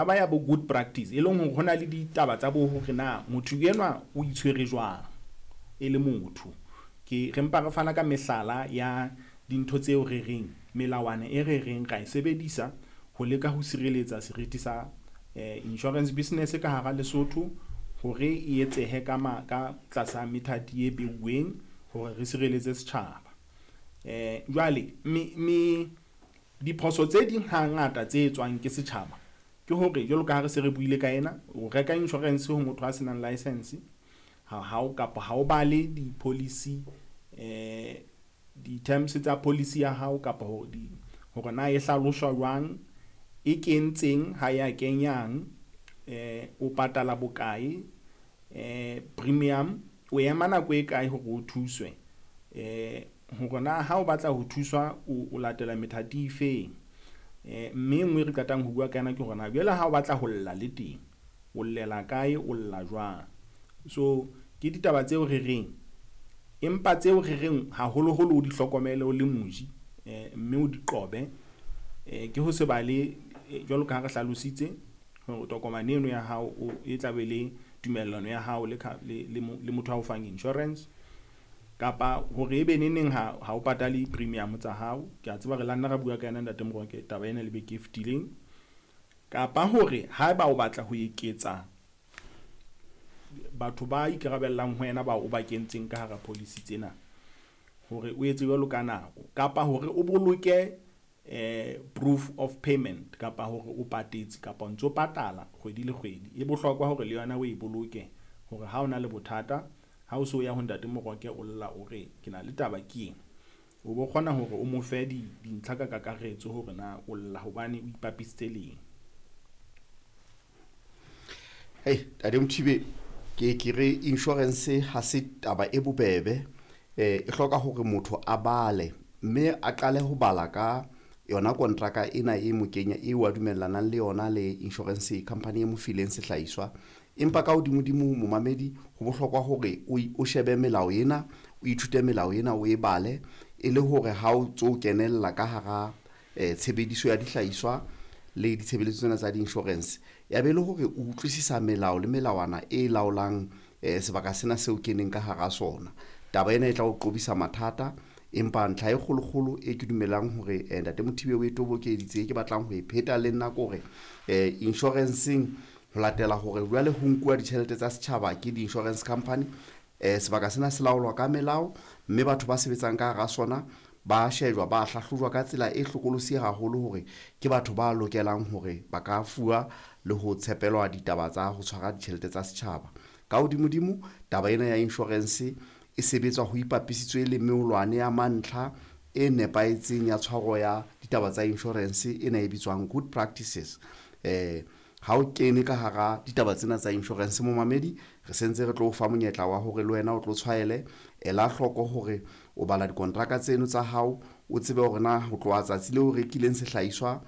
Taba ya bo good practice, e leng hore ho na le ditaba tsa bo hore na motho enwa o itshwere jwang e le motho. Ke re mpa re fana ka mehlala ya dintho tseo re reng melawana e re reng ra e sebedisa ho leka ho sireletsa seriti sa insurance business ka hara Lesotho hore e etsehe ka ka tlasa methati e beuweng hore re sireletse setjhaba. Jwale me diphoso tse ding hangata tse etswang ke setjhaba ke hore jwalo ka ha re se re buile ka ena, o reka insurance ho motho a senang license ha hao kapa ha o bale di-policy di-terms tsa policy ya hao kapa hore na e hlaloswa jwang, e kentseng ha ya kenyang, o patala bokae, premium, o ema nako e kae hore o thuswe, hore na ha o batla ho thuswa o latela methati e feng. Mme e nngwe e re qetang ho bua ka yona ke hore na jwale ha o batla ho lla le teng, o llela kae, o lla jwang. So ke ditaba tseo re reng, empa tseo re reng haholoholo o di hlokomele o le moji, mme o di qobe, ke ho se bale jwalo ka ha re hlalositse hore tokomane eno ya hao e tla be le tumellano ya hao le le motho ao fang insurance, kapa hore ebe neneng ha o patale premium tsa hao. Ke a tseba re la nna ra bua ka yona Ntate Moroke taba ena le beke e fetileng. Kapa hore haeba o batla ho eketsa batho ba ikarabellang ho wena bao o ba kentseng ka hara policy tsena, hore o etse jwalo ka nako, kapa hore o boloke proof of payment, kapa hore o patetse kapa o ntso patala kgwedi le kgwedi. E bohlokwa hore le yona o e boloke hore ha o na le bothata, ha o so ya ho Ntate Moroke o lla o re ke na le taba ke ena, o bo kgona hore o mo fe dintlha ka kakaretso hore na o lla hobane o ipapisitse leng. Hey, Ntate Mothibe, ke re insurance ha se taba e bobebe, e hloka hore motho a bale mme a qale ho bala ka yona kontraka ena e mo kenya e wa dumellanang le yona le insurance company e mo fileng sehlahiswa. Empa ka hodimodimo momamedi, ho bohlokwa hore o shebe melao ena, o ithute melao ena, o e bale e le hore ha o tso kenella ka hara tshebediso ya dihlahiswa le ditshebeletso tsena tsa di-insurance, ya be le hore o utlwisisa melao le melawana e laolang sebaka sena seo keneng ka hara sona. Taba ena e tla o qobisa mathata. Empa ntlha e kgolokgolo e ke dumelang hore Ntate Mothibe o e tobokeditse, e ke batlang ho e pheta le nna ke hore insuranceng ho latela hore jwale ho nkuwa ditjhelete tsa setjhaba ke di-insurance company, sebaka sena se laolwa ka melao, mme batho ba sebetsang ka hara sona ba shejwa, ba hlahlojwa ka tsela e hlokolosi haholo hore ke batho ba lokelang hore ba ka fuwa le ho tshepelwa ditaba tsa ho tshwara ditjhelete tsa setjhaba. Ka hodimodimo, taba ena ya insurance e sebetswa ho ipapisitswe le meolwane ya mantlha e nepahetseng ya tshwaro ya ditaba tsa insurance ena e bitswang good practices. Ha o kene ka hara ditaba tsena tsa insurance momamedi, re sentse re tlo o fa monyetla wa hore le wena o tlo tshwaele, ela hloko hore o bala dikontraka tseno tsa hao, o tsebe hore na ho tloha tsatsi leo o rekileng sehlahiswa,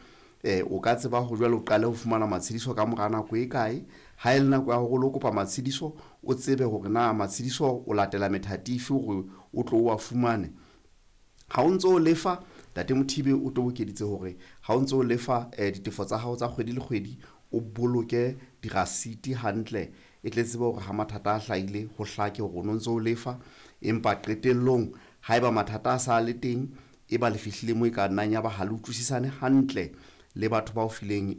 o ka tseba hore jwale o qale ho fumana matshediso ka mora nako e kae. Ha e le nako ya hore o lo kopa matshediso, o tsebe hore na matshediso o latela methati efe hore o tlo o a fumane. Ha o ntso o lefa, Ntate Mothibe o tobokeditse hore ha o ntso o lefa ditefo tsa hao tsa kgwedi le kgwedi, o boloke dirasiti hantle, e tle tsebe hore ha mathata a hlahile ho hlake hore o no ntso o lefa. Empa qetellong haeba mathata a sa le teng, e ba le fihlile moo e ka nnang ya ba ha le utlwisisane hantle le batho ba o fileng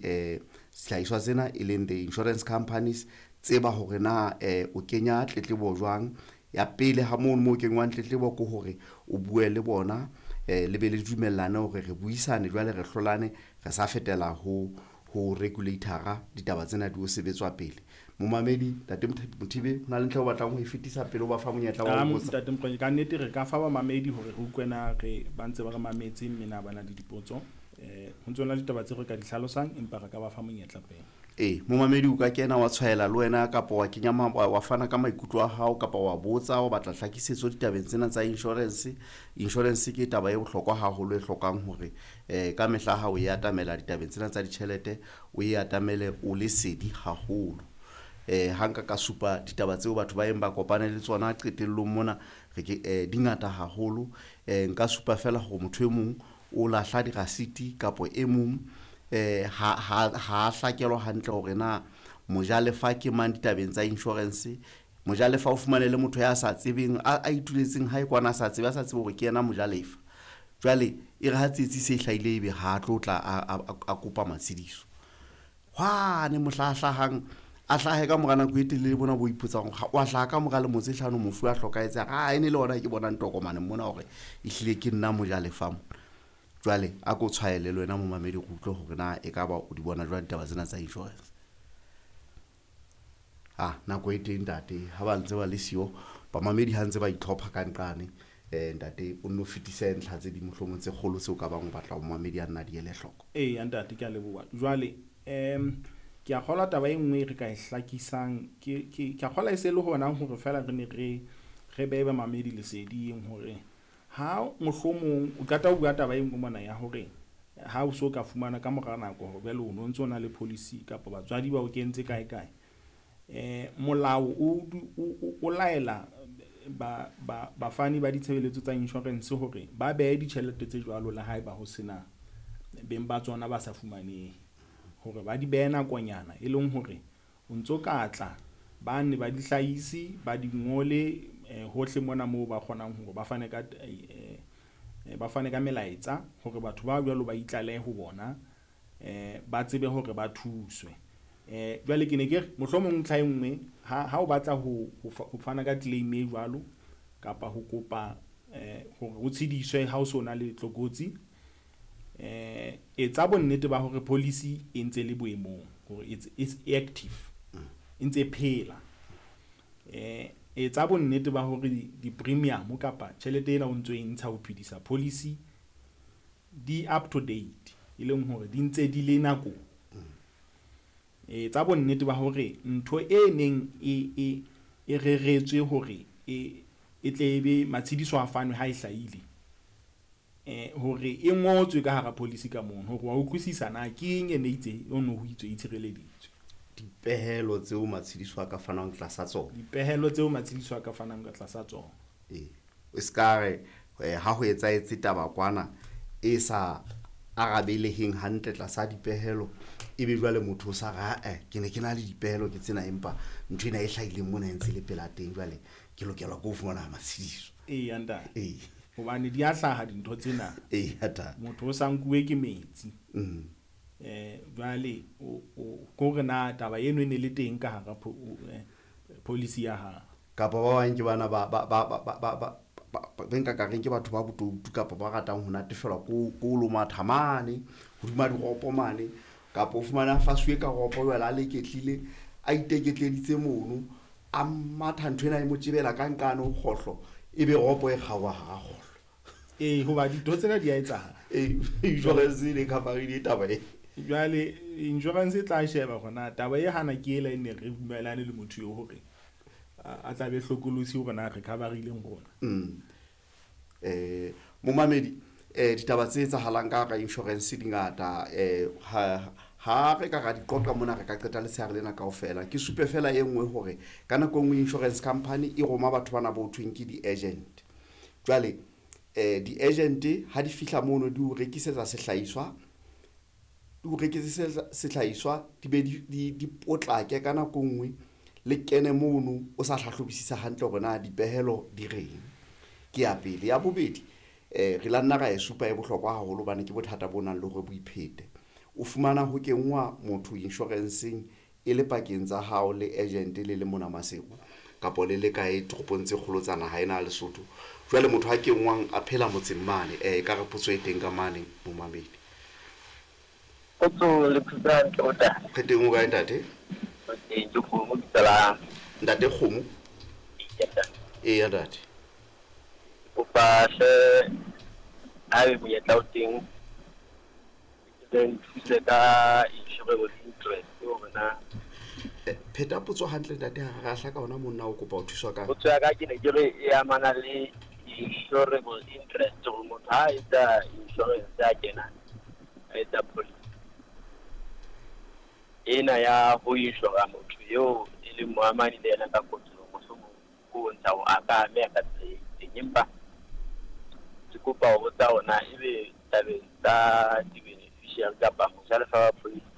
sehlahiswa sena, e leng the insurance companies, tseba hore na o kenya tletlebo jwang. Ya pele ha mono moo kenngwang tletlebo ke hore o bue le bona, le be le dumellane hore re buisane jwale, re hlolane, re sa fetela ho regulator-a ditaba tsena di o sebetswa pele. Momamedi, Ntate Mothibe, ho na le ntlha o batlang ho e fetisa pele o ba fa monyetla wa ho botsa? Ntate Mokoena, ka nnete re ka fa bamamedi hore re utlwe na re ba ntse ba re mametse mme na ba na le dipotso. Ho ntso na le ditaba tse re ka di hlalosang, empa re ka ba fa monyetla pele. Momamedi o ka kena wa tshwaela le wena, kapa wa kenya wa fana ka maikutlo a hao, kapa wa botsa, o batla hlakisetso ditabeng tsena tsa insurance. Insurance ke taba e bohlokwa haholo e hlokang hore ka mehla ha o e atamela ditabeng tsena tsa ditjhelete, o e atamele o le sedi haholo. Ha nka ka supa ditaba tseo batho ba eng ba kopane le tsona qetellong mona, re ke di ngata haholo. Nka supa fela hore motho e mong o lahla dirasiti, kapa e mong Ha hlakelwa hantle hore na mojalefa ke mang ditabeng tsa insurance. Mojalefa o fumane le motho ya sa tsebeng, a ituletseng hae kwana, a sa tsebe, a sa tsebe hore ke yena mojalefa. Jwale e re ha tsietsi se hlahile, ebe ha a tlo tla a kopa matshediso. Hwane mohla a hlahang, a hlahe ka mora nako e telele bona bo ipotsang hore wa hlaha ka mora lemo tse hlano mofu a hlokahetse, a e ne le ona ke bonang tokomane mona hore ehlile ke nna mojalefa mona. Jwale a ko tshwaele le wena momamedi, re utlwe hore na ekaba o di bona jwang ditaba tsena tsa insurance. Nako e teng ntate, ha ba ntse ba le siyo bamamedi ha ntse ba itlhopha ka nqane, ntate o nno fetise ntlha tse ding mohlomong tse kgolo tseo ka bang o batla ho momamedi a nna di ele hloko. Eya ntate, ke a leboha. Jwale ke a kgolwa taba e nngwe re ka e hlakisang, ke a kgolwa e se le hona hore feela re ne re behe bamamedi leseding hore ha mohlomong o qeta ho bua taba e nngwe mona ya hore ha o so ka fumana ka mora nako hore jwale o no ntso na le policy kapa batswadi ba o kentse kae kae, molao o laela bafani ba ditshebeletso tsa insurance hore ba behe ditjhelete tse jwalo le haeba ho sena beng ba tsona ba sa fumanehe, hore ba di behe nakonyana, e leng hore o ntso ka tla ba ne ba di hlahise, ba di ngole hohle mona moo ba kgonang hore ba fane ka ba fane ka melaetsa hore batho ba jwalo ba itlalehe ho bona, ba tsebe hore ba thuswe. Jwale ke ne ke re mohlomong ntlha e nngwe, ha o batla ho fana ka claim e jwalo kapa ho kopa hore o tshediswe ha o so na le tlokotsi, etsa bonnete ba hore policy e ntse le boemong, hore it's active, e ntse phela. Etsa bonnete ba hore di-premium kapa tjhelete ena o ntso e ntsha ho phedisa policy di up to date, e leng hore di ntse di le nakong. Etsa bonnete ba hore ntho e neng e reretswe hore e tle ebe matshediso a fanwe ha e hlahile, hore e ngotswe ka hara policy ka mono, hore wa utlwisisa na ke eng e ne itse o no ho itswe e tshireleditswe. Dipehelo tseo matshediso a ka fanang tlasa tsona. Dipehelo tseo matshediso a ka fanang ka tlasa tsona. E ska re ha ho etsahetse taba kwana e sa arabeleheng hantle tlasa dipehelo, ebe jwale motho o sa re, ke ne ke na le dipehelo ke tsena, empa ntho ena e hlahileng mona e ntse le pela teng, jwale ke lokela ke ho fumana matshediso. Eya ntate. Hobane di a hlaha dintho tsena. Eya ntate. Motho o sa nkuwe ke metsi. Jwale o kore na taba eno e ne le teng ka hara policy ya hao. Kapa ba bang ke bana ba nka ka reng ke batho ba botoutu kapa ba ratang ho natefelwa ko lomatha mane hodima diropo mane, kapa o fumana fasuwe ka ropo jwale a leketlile, a iteketleditse mono, a matha ntho ena e mo tjebela ka nqane ho kgohlo, ebe ropo e kgaoha hara kgohlo. Hoba dintho tsena di a etsahala. Insurance e ne cover-ile taba e. Jwale insurance e tla sheba hore na taba e hana ke ela e ne re dumelane le motho eo hore a tla be hlokolosi hore na re cover-ileng rona. Momamedi, ditaba tse etsahalang ka hara insurance di ngata, ha re ka ra di qoqa mona re ka qeta letshehare lena kaofela. Ke supe fela e nngwe hore ka nako e nngwe insurance company e roma batho bana bo thweng ke di-agent. Jwale di-agent ha di fihla mono di o rekisetsa sehlahiswa, di o rekisetsa sehlahiswa, di be di potlake ka nako e nngwe, le kene mono o sa hlahlobisisa hantle hore na dipehelo di reng. Ke ya pele. Ya bobedi, re la nna ra e supa e bohlokwa haholo hobane ke bothata bo nang le hore bo iphete. O fumana ho kenngwa motho insurance-eng e le pakeng tsa hao le agent le le mona Maseru kapa le le kae toropong tse kgolo tsa naha ena ya Lesotho. Jwale motho ha kenngwang a phela motseng mane, ka re potso e teng ka mane momamedi. Potso le phutsa hantle o ntate. Re teng o kae ntate? Ke Kgomo bitsa. Ntate Kgomo? Eya ntate. Kopa hle ha be monyetla o teng ke nthuse ka insurance interest hore na. Pheta potso hantle ntate, ha re hlaka hona monna o kopa ho thuswa ka. Potso ya ka ke ne ke re e amana le insurable interest, hore motho ha etsa insurance a kena a etsa policy ena ya ho insura motho eo e leng moamani le yena ka kotsi, mohlomong o bontsha hore a ka ameha ka tsela e itseng, empa ke kopa ho botsa hore na ebe tabeng tsa di-beneficiary beneficiary kapa mojalefa wa policy.